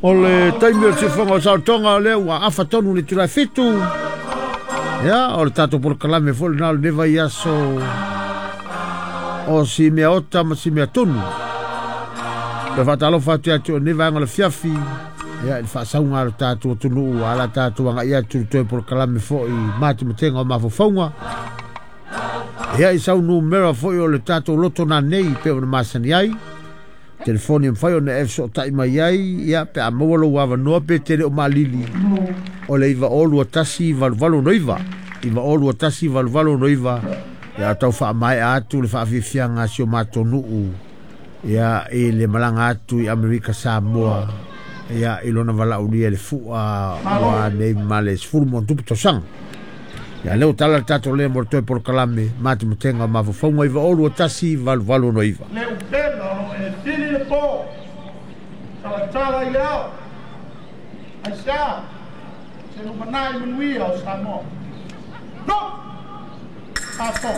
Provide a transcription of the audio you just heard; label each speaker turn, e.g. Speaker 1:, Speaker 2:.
Speaker 1: O le taimi o le siufofoga o le saolotoga o lea ua afa tonu le itula e 7. Ia, o le tatou polokalame foi lena o lenei vaiaso o si mea ota ma si mea tunu. Le faatalofa atu ia te oe i lenei vaega o le afiafi, ia i le faasauga a lo tatou atunuu a la tatou agai atu i le toe polokalame foi matematega o mafaufauga. Ia i sau numera foi o le tatou loto nanei pe ona masani ai. Telefoni e mafai ona e fesootai mai ai, ia pe a maua lou avanoa pe te le o malili, o le 902 1869, 902 1869, ia tau faamaea atu le faafiafiaga a si o matou nuu, ia i le malaga atu i Amerika Samoa, ia i lona valaaulia i le fua ua nei ma le 10 ma tupu tausaga. Ia lea ua tala le tatou lea mo le toe polokalame matematega o mafaufauga 902 1869.
Speaker 2: Le upega o lo e sili le po, talatala i le ao, aisea se lumanai manuia o Samoa. No! Aso.